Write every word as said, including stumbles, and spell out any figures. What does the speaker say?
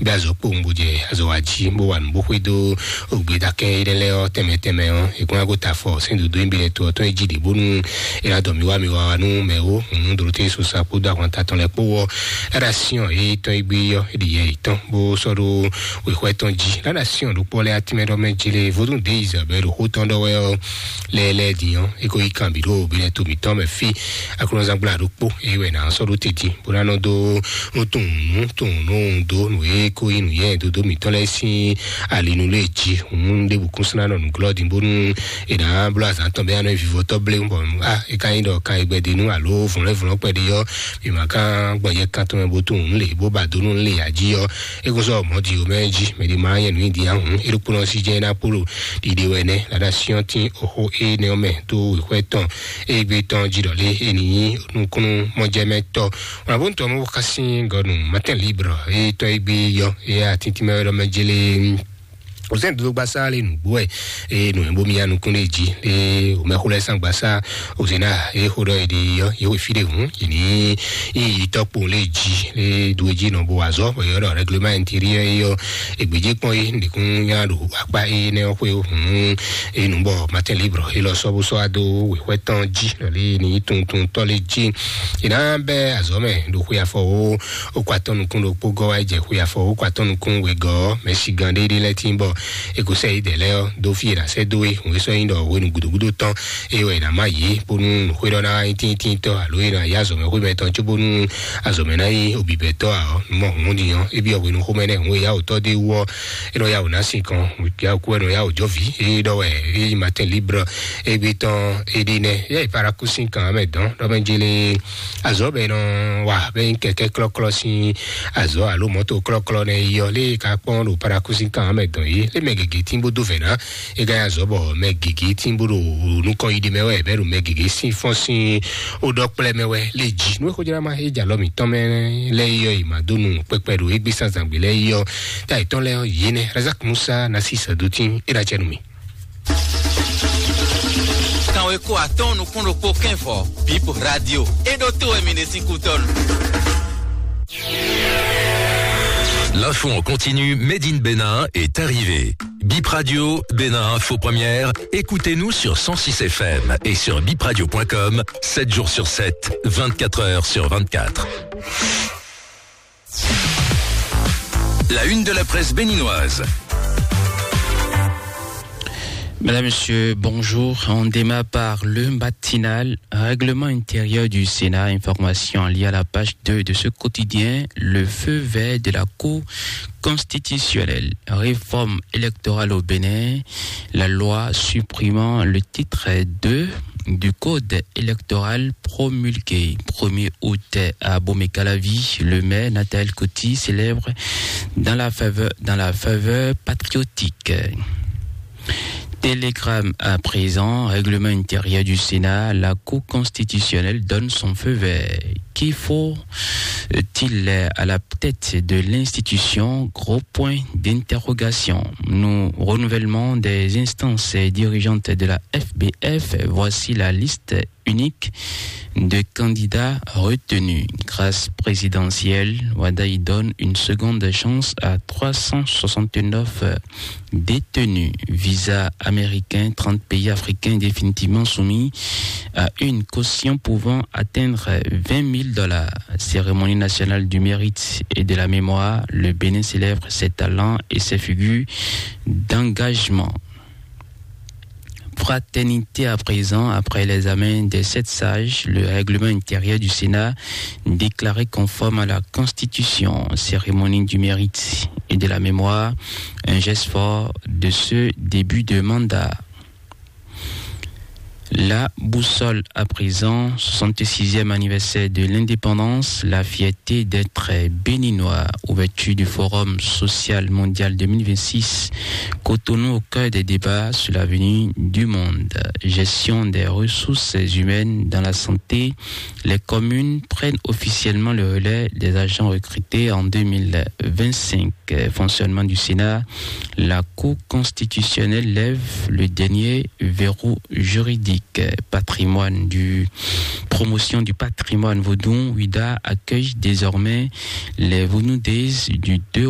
Bí azɔ̌ kpowun bó jɛ azɔ̌ wa jí, bó wa nǔ bó xwedó ògbédákẹ́ énɛ́ lɛ́ɛ ɔ́ tɛnmɛ tɛnmɛ ɔ́, è kún ná gota afɔ sɛ́n dǒdó nyi bɛlɛ to ɔ́ tɔn e jí ɖě bónú è ná dɔ mǐ wá mǐ wá wá nú mɛ ó, hǔn Dorothée Sosa kpódó ahwanta tɔn lɛ́ɛ kpó ɔ́, Ládàá Siɔn e tɔn e gbé ɔ́, é ɖi yɛ yětɔn bó sɔ́ ɖó wěxwɛ́ tɔn jí. Ládàá Siɔn ɖokpó lɛ́ɛ atínmɛ ɖɔ mɛ jí lé vodún dé Isabɛl ɖo xó tɔn ɖɔ wɛ ɔ́, lɛ́ɛ lɛ́ɛ din ɔ́, é ko yí kan bǐ ɖo bínɛ to mǐtɔn mɛ fí. Aklúnɔzán gbla ɖokpó é wɛ nǎ sɔ́ ɖó te jí bó ná nɔ dó nú tunwun nú tunwun nú dó nǔ e ko nyí nǔnyɛ dodo mǐtɔn lɛ́ɛ sín alinu lé jí. Hǔn ɖěbǔ kún sɔ́ ná nɔ nǔglɔ́ din bónú è nǎ bló azǎn tɔn bɛ́ ná nɔ vivɔtɔ́ blé bɔ a é ka nyí ɖɔ kan e gbɛdenu alo vlɔ̌nvlɔ́n kpɛɖé ɔ́, mǐ ma ka gbɔ yɛ kan tɔn mɛ bó tunwun nǔ lě bó ba dó nú lě jí ɔ́, é kún sɔ́ mɔ̌ di omɛ jí mɛ ɖé ma nyɛ nǔ nyi din ahun é ɖokpónɔ sí jɛ ná kpó ɖo ɖiɖe wɛ nɛ́. Lada siɔn tín oxó énɛ́ ɔ́ mɛ dó wěxwɛ́ tɔn égbé tɔn jí ɖɔ lé é ní nyí nukúnnú mɔjɛmɛtɔ́. Wọn bó ń tɔ mɔ xásí gɔnu Matin Libre é tɔn égbé yɔ é atíntín mɛ wɛ ɖɔ mɛ jélé. Òsèǹ dúdú gbasá lé nùgbó ɛ é nù ẹ̀ bó mi ya nukún lé jí é òmɛxó lɛ sàn gbasá òsèǹ náà é xó ɖɔ é ɖi yɔ é wò fí ɖé hùn é ní yí tɔkpo lé jí é dúró jí nɔ bó wà zɔ bó yɔ ɖɔ règlement intérieur é yɔ ègbèjì kpɔn é nìkún yá ɖo akpa é nɛ ɔ́ xwé hùn é nù bɔ Matin Libre é lɔ sɔ bó sɔ adó wěxwɛ tɔn jí lɔlé ní tuntun tɔ lé jí é ná bɛ azɔ mɛ ɖo xwé afɔ wo ó kó atɔ́ nukún ɖokpó gɔ́ wá jɛ xwé afɔ ó kó atɔ́ nukún wegɔ́ mɛ si gan ɖéɖé lɛ́ tín bɔ é kó sɛ yi dɛ lɛ́ ɔ́ dó fí é ná sɛ dó é hùn é sɔ nyi ɖɔ hwenu gúdógúdó tɔn é wɛ é ná má yé bónú nǔxwé ɖɔ ná wá nyí tíntínntɔ́ alo é ná yá azɔ̌mɛ xwé mɛtɔn cóbónú azɔ̌mɛ ná nyí obibɛtɔ́ ǎ ɔ́, nǔ mɔ hǔn ní ɔ́, é byɔ́ hwenu xomɛ nɛ́ hǔn e yá wǔtɔ́ dé wú ɔ́, é nɔ yá wǔ ná sin kan, yá wǔ kú wɛ nɔ yá wǔ jɔ vǐ, é ɖɔ wɛ é nyí Matin Libre égbé tɔn é ɖi nɛ́, yá è para kú sín kan mɛ dɔn ɖɔ mɛ jélé azɔ̌ bɛ nɔ wa bɛ nyí kɛkɛ́ klɔ́klɔ́ sín azɔ̌ alo mɔ̌to klɔ́klɔ́ nɛ́ yi ɔ́, lé ka kpɔ́n ɖo para kú sín kan mɛ dɔn yé, lé mɛ gěgé tín bó dó vɛ̌ ná, é ka nyí azɔ̌ bɔ mɛ gěgé tín bó ɖo nukɔn yi ɖe mɛ wɛ bɛ́ ɖo mɛ gěgé sín fɔ́n sín ó ɖɔ kplɛ́ mɛ wɛ lé jí nú é xójlá ma é jɛ alɔ mǐtɔn mɛ lɛ́ɛ yi ɔ́, yi ma dó nu kpɛkpɛ ɖo égbé sánzǎngbé lɛ́ɛ yi ɔ́, tá yětɔn lɛ́ɛ ɔ́, yě nɛ́ Razak Musa ná sí sɛ̌dótín é ɖo acɛ nú mì. Kanweko atɔ́ɔ́n nukún ɖokpó kɛ́nvɔ Bip Radio é ɖó tó wɛ mi ɖe sín kútɔ́nu. L'info en continu Made in Bénin est arrivé. Bip Radio, Bénin Info Première, écoutez-nous sur cent six F M et sur bipradio point com, sept jours sur sept, vingt-quatre heures sur vingt-quatre. La une de la presse béninoise. Madame, Monsieur, bonjour. On démarre par le matinal, règlement intérieur du Sénat, information liée à la page deux de ce quotidien, le feu vert de la Cour constitutionnelle, réforme électorale au Bénin, la loi supprimant le titre deux du code électoral promulgué premier août à Bomekalavi, le maire Nathalie Coty célèbre dans la faveur, dans la faveur patriotique. Télégramme à présent, règlement intérieur du Sénat, la Cour constitutionnelle donne son feu vert. Qui faut-il à la tête de l'institution ? Gros point d'interrogation. Nous, renouvellement des instances dirigeantes de la F B F, voici la liste unique de candidats retenus. Grâce présidentielle, Wadaï donne une seconde chance à trois cent soixante-neuf détenus. Visa américain, trente pays africains définitivement soumis à une caution pouvant atteindre vingt mille dollars. Cérémonie nationale du mérite et de la mémoire, le Bénin célèbre ses talents et ses figures d'engagement. Fraternité à présent, après l'examen des sept sages, le règlement intérieur du Sénat déclaré conforme à la Constitution, cérémonie du mérite et de la mémoire, un geste fort de ce début de mandat. La boussole à présent, soixante-sixième anniversaire de l'indépendance, la fierté d'être béninois. Ouverture du Forum social mondial deux mille vingt-six, Cotonou au cœur des débats sur l'avenir du monde. Gestion des ressources humaines dans la santé, les communes prennent officiellement le relais des agents recrutés en deux mille vingt-cinq. Fonctionnement du Sénat, la Cour constitutionnelle lève le dernier verrou juridique. Patrimoine du, promotion du patrimoine vaudou, Ouidah accueille désormais les Vaudou Days du deux